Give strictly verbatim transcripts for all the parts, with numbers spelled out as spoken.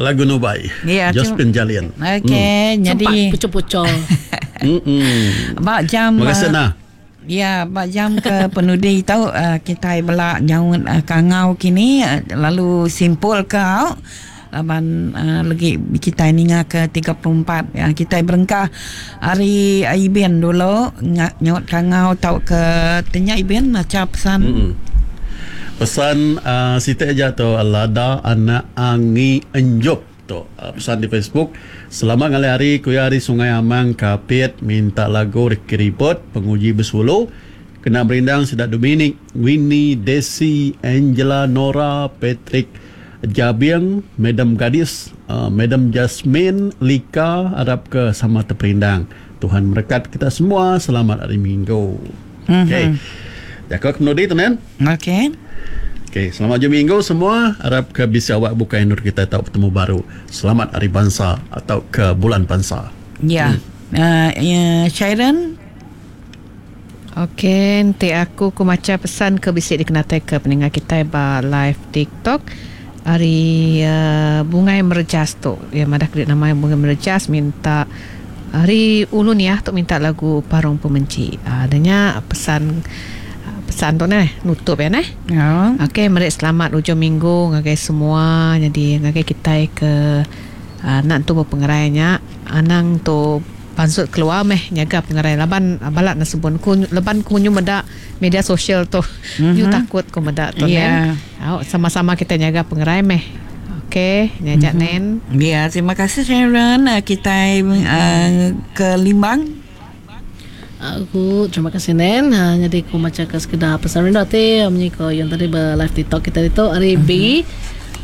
Lagu Nubai. Ya, Josephine Jalian. Okey, mm. jadi sempat pucuk-pucuk. Mm. Ba jam Terima kasih nah. Ya, ba jam ke penudi tau uh, kita belak nyaut uh, kangau kini uh, lalu simpul ke au. Laban uh, lagi kita ninga ke tiga puluh empat ya, kita berengkah hari Ibin dulu nyaut kangau tau ke tanya Ibin macam pesan. Mm-mm. Pesan uh, Siti aja tu lada anak angi enjop tu uh, pesan di Facebook. Selamat ngalih hari kuya hari Sungai Amang Kapit minta lagu Ricky Ribot Penguji Besulu kena berindang Sedak Dominic, Winnie, Desi, Angela, Nora, Patrick Jabiang, Madam Gadis, uh, Madam Jasmine, Lika, harap ke sama terperindang. Tuhan berkat kita semua. Selamat hari Minggu. Mm-hmm. Okey. Jaga kemenudi tu Nen. Okey. Okey, selamat hujung minggu semua. Harap ke bisa awak buka nur kita tahu bertemu baru. Selamat hari bangsa atau ke bulan bangsa. Ya. Hmm. Uh, ya, Sharon. Okey, nanti aku ku maca pesan ke bisik dikenatai ke pendengar kita ba live TikTok. Hari uh, Bungai Merjas tu. Ya madah kredit nama Bungai Merjas minta hari ulun ya tu minta lagu Parung Pemenci. Uh, adanya pesan pesan tu neh nutup ya neh. Ya. Okey, merik selamat hujung minggu ngagai semua. Jadi ngagai kita ke uh, nak tu berpengerainya anang tu pansut keluar meh nyaga pengerai laban balat nasebun ku leban ku nyu meda media sosial tu. Mm-hmm. Nyu takut ku meda tu yeah. Nen. Au sama-sama kita nyaga pengerai meh. Okey, nyajak mm-hmm. Nen. Ya, terima kasih Sharon. Kita uh, ke Limbang. Aku terima kasih Nen. Ha, jadi aku maca ke sekedar pesan rindu ti menyiko yang tadi ber live TikTok kita itu hari mm-hmm. B.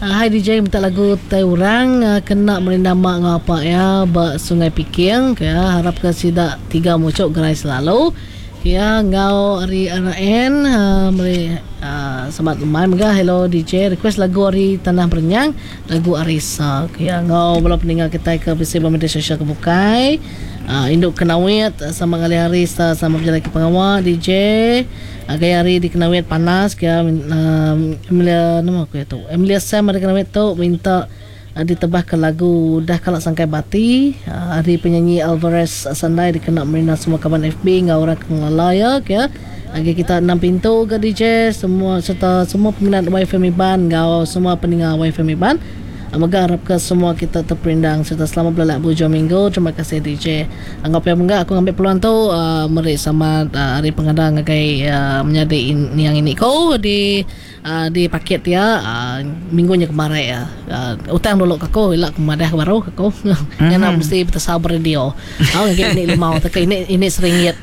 Uh, hai D J minta lagu tai orang uh, kena merindam mak ngapa ya ba Sungai Piking ya harap ke sidak tiga mucuk gerai selalu ya ngau ari R N uh, meri uh, selamat lemai mega hello D J request lagu ari Tanah Berenyang lagu Arisa ya ngau bala peninggal kita ke bisi media sosial ke bukai uh, induk kenawit sama ngali hari sama berjalan ke pengawal D J uh, gaya hari di kenawit panas ya uh, Emilia nama aku ya tu Emilia Sam ada kenawit tu minta uh, ditebah ke lagu dah kalak sangkai bati uh, hari penyanyi Alvarez Sandai dikena merina semua kawan F B ngau orang kengalaya ya lagi kita enam pintu ke D J semua serta semua peminat Y F M Iban ngau semua pendengar Y F M Iban. Moga harap ke semua kita terperindang serta selamat berlelak hujung minggu. Terima kasih D J. Anggap yang enggak aku ngambil peluang tu uh, meri sama uh, hari pengadang ngagai uh, menyadi in, yang ini kau di uh, di paket ya uh, minggunya kemarin ya. Uh, utang dulu ke aku ilak kemadah baru ke aku. Mm-hmm. Yang nak mesti bersabar radio. Au ngagai ini limau tak ini ini seringgit.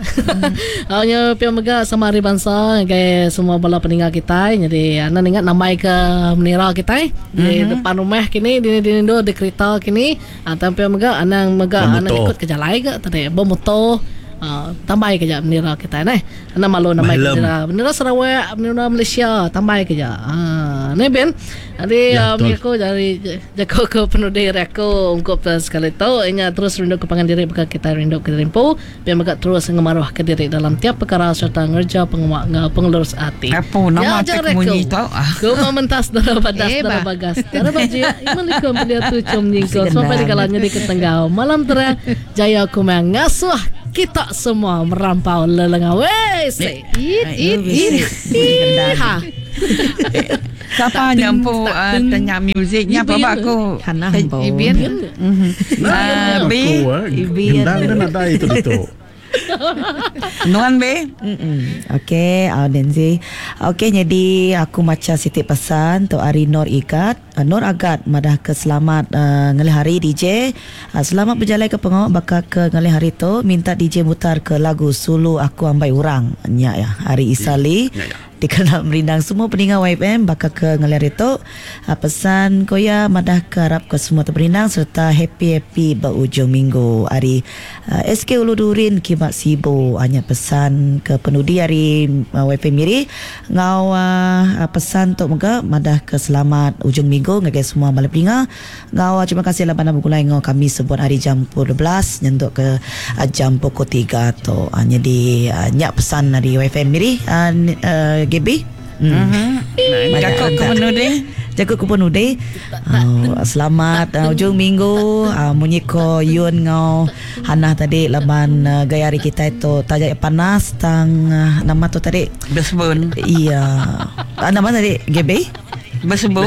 Au nya pia mega sama hari bangsa ngagai semua bala peninggal kita. Jadi ana ingat namai ke menira kita di mm-hmm. depan rumah kini di di do di kereta kini ah tampil mega anang mega anang ikut ke jalai ke tadi bermotor uh, tambai kejap bendera kita neh anang malu namai bendera bendera Sarawak bendera Malaysia tambai kejap ah ni ben jadi ya, um, aku dari jago ke penudi aku ungkup sekali tu inya terus rindu ke pangan diri bakal kita rindu ke rimpu biar mega terus ngemaruh ke diri dalam tiap perkara serta ngerja penguak pengelurus hati. Apa nama ya, tek munyi tau ku mementas darah badas darah bagas darah baju imalikum dia tu cum nyingko sampai dikalanya di ketenggau malam terang jaya ku mengasuh kita semua merampau lelengau weh it it it ha. Siapa nyampu uh, tanya muziknya apa aku Ibin ah B Ibin gendang dan ada itu itu Nuan B. Okey, uh, Nancy. Okey, jadi aku maca sitik pesan tu hari Nur Igat, uh, Nur Agat madah ke selamat uh, ngalih hari D J. Uh, selamat berjalan ke pengawak bakal ke ngalih hari tu minta D J mutar ke lagu Sulu Aku Ambai Urang. Nya ya, hari Isali. Ya, ya. Dikenal merindang semua peninggal Y F M bakal ke ngalir itu pesan koya madah ke harap ke semua terperindang serta happy-happy berujung minggu hari uh, S K Ulu Durin Kimak Sibo hanya pesan ke penudi hari uh, Y F M Miri ngau uh, pesan tok moga madah ke selamat ujung minggu ngagai semua malam peninggal ngau uh, terima kasih lah bandar bergulai ngau kami sebut hari jam pukul dua belas nyentuk ke uh, jam pukul tiga tu hanya uh, di uh, nyak pesan dari Y F M Miri uh, uh, G B. Hmm. Jaku ke penudi. Jaku ke penudi. Uh, selamat uh, ujung minggu. Uh, munyi ko Yun ngau Hana tadi laban uh, gaya hari kita itu tajak panas tang uh, nama tu tadi Besebun. Iya. Uh, nama tadi G B? Besebun.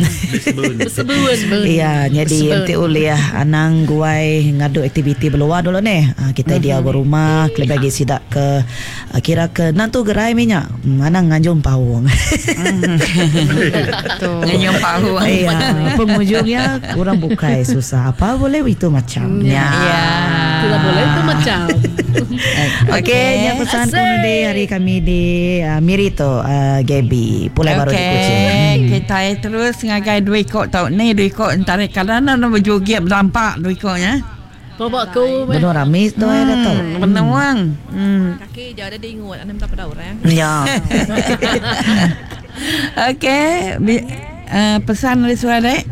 Besebun. Besebun. Iya, jadi enti ulih anang guai ngadu aktiviti berluar dulu ni. Ha, kita mm-hmm. dia berumah, kelebih lagi sidak ke kira ke nantu gerai minyak. Anang nganjung paung. Nganjung paung. Iya, penghujungnya orang bukai susah. Apa boleh itu macam. Ya. Ya. Tidak boleh itu macam. Okey, nya pesan penudi hari kami di uh, Miri tu uh, Gaby. Pulai baru di Kuching. Kita terus ngagai dua ikut tau ni dua ikut entara kadang nak berjoget berlampak dua ikutnya. Bawa aku benar rame tu hmm, ada tu. Benar wang. Hmm. Kaki je ada diingut anda minta pada orang. Ya. Okey, uh, pesan dari suara dek.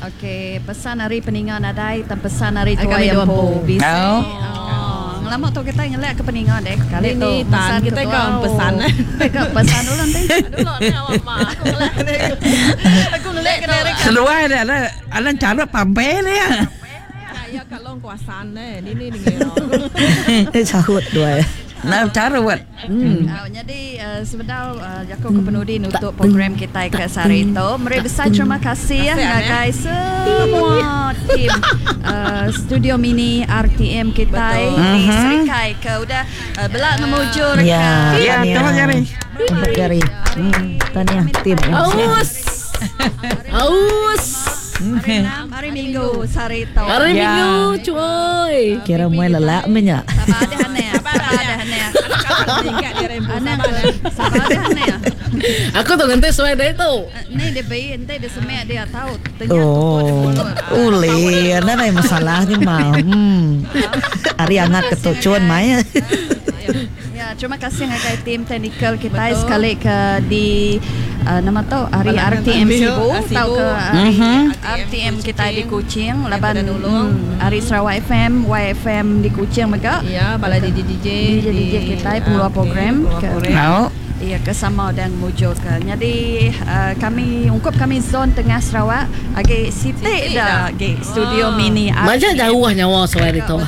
Okey, pesan hari peningan nadai dan pesan hari tua yang po. Bisi. Oh. Lama tu kita ngelak ke peningan dek. Kali tu pesan kita ke pesan. Ke pesan dulu nanti. Dulu ni awak mak aku ngelak. Aku ngelak ke derek. Seluar dah lah. Alan cara pampe ni ya. Ya kalau kuasaan ni ni ni ni. Eh sahut dua. Nah cara buat. Hmm. Uh, jadi uh, sebentar uh, Jaku ke penudi untuk program kita ke sehari itu. Meri besar terima kasih ya ngagai semua tim uh, studio mini R T M kita di Serikai ke udah uh, belak ngemujur ke. Ya, ya, tolong jari. Empat jari. Hmm, tahniah tim. Aus. Aus. Hari enam, hari Minggu sehari itu. Hari Ya. Minggu cuy. Kira mulai lelak menyak. Sabar ada hane. Sabar ada hane. Sabar ada hane. Aku tu nanti sesuai dia tu. Ni dia bayi, nanti dia semek dia tahu. Ternyata Oh, uli, ada ada masalahnya mau. Hmm. Hari hangat ketucuan mai. Ya, terima kasih ngagai tim teknikal kita sekali ke di uh, nama tu hari R T M Sibu atau ke hari R T M kita di Kuching, laban hari Sarawak F M, Y F M di Kuching mega. Ya, bala D J D J D J D J kita pengeluar program ke. Mau. Ya, kesama dan mujur ke. Jadi uh, kami ungkup kami zon tengah Sarawak agi sitik dah agi studio mini. Macam jauh nyawa sesuai itu.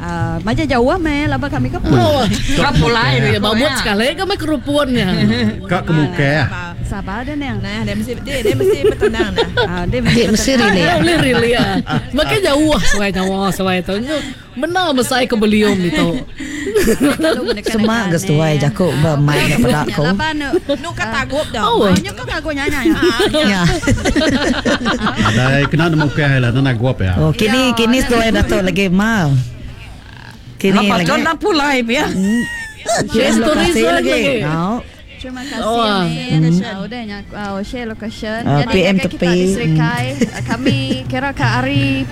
Uh, macam jauh meh laba kami ke Oh, Kau pulai ya babut sekali kami kerupunnya. Kak kemuka. Sabar dah nang. Nah, dia mesti dia dia mesti bertenang nah. Ah, dia mesti Dia mesti relay. Dia boleh relay ah. Makin jauh sesuai nyawa sesuai itu. Benar besar ke beliau itu. Semak ke setuai jakuk bermain kepada aku. Nu ka tagup dah. Oh. Nyu ka tagup nyanyi. Ya. Ada kena nemu ke lah nak guap ya. Oh, kini kini setuai datuk lagi mal. Kini Lepas lagi. tu nak pulai ya. Share stories Lokasi lagi. Oh. Terima kasih Oh. ni. Oh, udah nyak oh, share location. Ah, Jadi P M kita tepi. di Serikai, kami kira ke hari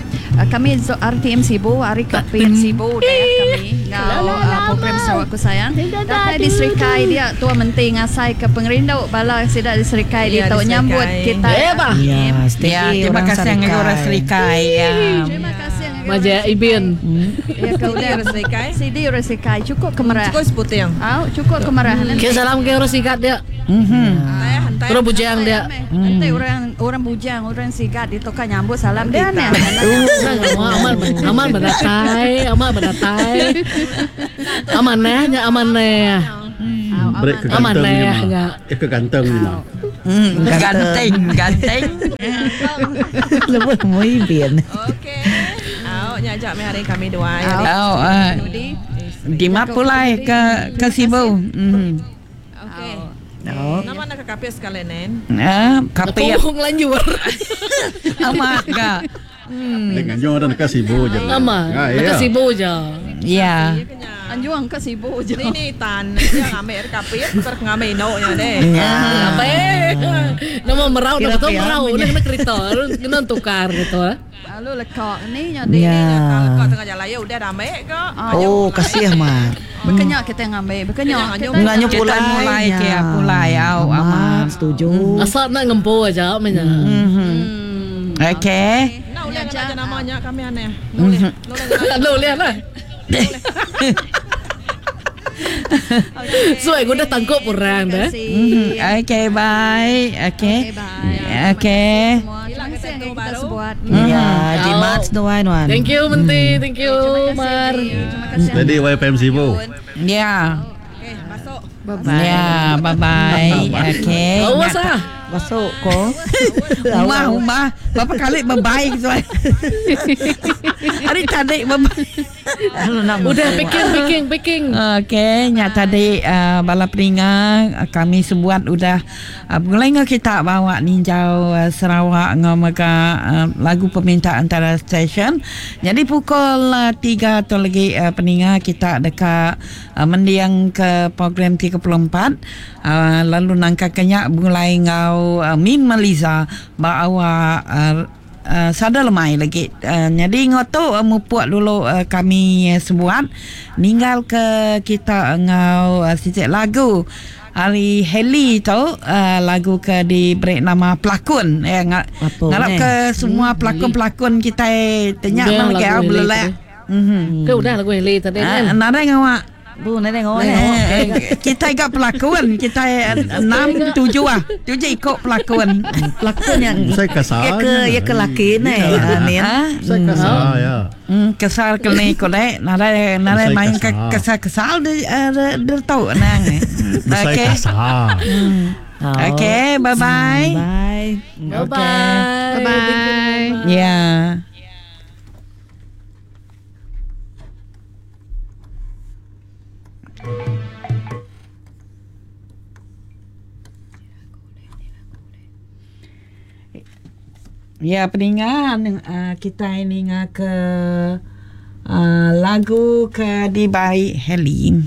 kami R T M Sibu, hari ke P M Sibu dah ya kami ngau uh, program Sarawakku Sayang. Datai di Serikai dia tua menteri ngasai ke pengerindu bala sidak di Serikai dia Ya, tahu di nyambut Serikai. kita. Eh, bah. Ya, steady Ya, terima orang kasih dengan orang Serikai ya. Terima kasih dengan Maja Ibin. Ya kau Sidi dah orang Serikai. Sidi orang Serikai cukup kemerah. Cukup seputing. Au, cukup kemerah. Kita salam ke orang sikat dia. Mhm. Hantai Orang bujang dia. Nanti orang orang bujang, orang sigat di toka nyambut salam dia ni. Aman aman berdatai, aman berdatai. Aman neh, nya aman neh. Break ke Aman ganteng ni lah, mah. enggak. Eh ke ganteng ni mah. Hmm, ganteng, ganteng. Lebih muibin. Okey. Au, nyajak meh hari kami dua. Oh, uh, di mana pulai ke ke Sibu. Hmm. Okey. Oh. Nama nak ke kapis sekali nen. Ah, kapit Aku ngelanjur. amat ke. Dengan jo orang ke Sibu je. Aman. Ah, Nak ya. Sibu je. Ya. Anjuang ke Sibu je. Ni ni tan yang ambil kapis, per ngambil inoknya deh. Ya. Apa eh? Nama merau, Kira nama tu pian merau, punya. kena kereta, kena tukar gitu ah. Lalu lekak ni jadi Ya. Kalau kau tengah jalan ya udah ramai kok. Oh, kasih mat. Berkenyak kita ngambil, berkenyak kita. Nganyu Kita pulai. mulai ya. ke pulai au Amat amat. setuju. Asal nak ngempo aja menya. Mhm. Okey. Nak boleh kena namanya kami aneh. Boleh. Boleh. Lu lihat lah. So aku udah tangkap orang dah. Mm, okay, bye. Okay. Okay, bye. Okay. Terima kasih semua. Terima kasih kita sebuat. Ya, jimat seduai nuan. Thank you Menti, thank you Mar. Terima kasih. Jadi Y P M Sibu. Ya. Okey, masuk. Bye-bye. Ya, bye-bye. Okay. Awas ah. Masuk ko. Umah, umah. Berapa kali bye-bye gitu. Hari tadi bye-bye. Udah picking picking picking. Okey, nyak tadi uh, bala peninga uh, kami sebuat udah uh, mulai ngau kita bawa ninjau uh, Sarawak ngau mega uh, lagu permintaan antara stesen. Jadi pukul uh, tiga tu lagi uh, peninga kita dekat uh, mendiang ke program tiga puluh empat uh, lalu nangka kenyak mulai ngau uh, Min Maliza bawa uh, Uh, sada lemai lagi. Uh, jadi ngoto uh, mupuk dulu uh, kami uh, sebuat ninggal ke kita ngau uh, sicik lagu hari Heli tu uh, lagu ke diberi nama pelakon ya eh, ngarap ke semua pelakon-pelakon kita tenyak Udah lagi lagu au Heli belelak. Mhm. Ke udah lagu Heli tadi kan. Uh, nadai ngawak. Bu, nadai ngawak. Eh, kita gak pelakon, kita enam tujuh ah, tujuh ikut pelakon. Pelakon yang Saya kasar. Ya ke ya ke laki ni. Amin. Saya kasar ya. Hmm, kesal ke ni ko dek, nadai nadai main ke kesal-kesal dia dia tahu nang. Saya kasar. Okay, bye bye. Bye. Bye bye. Bye bye. Ya. Ya, peningan uh, kita ini ke uh, lagu ke dibaik Heli.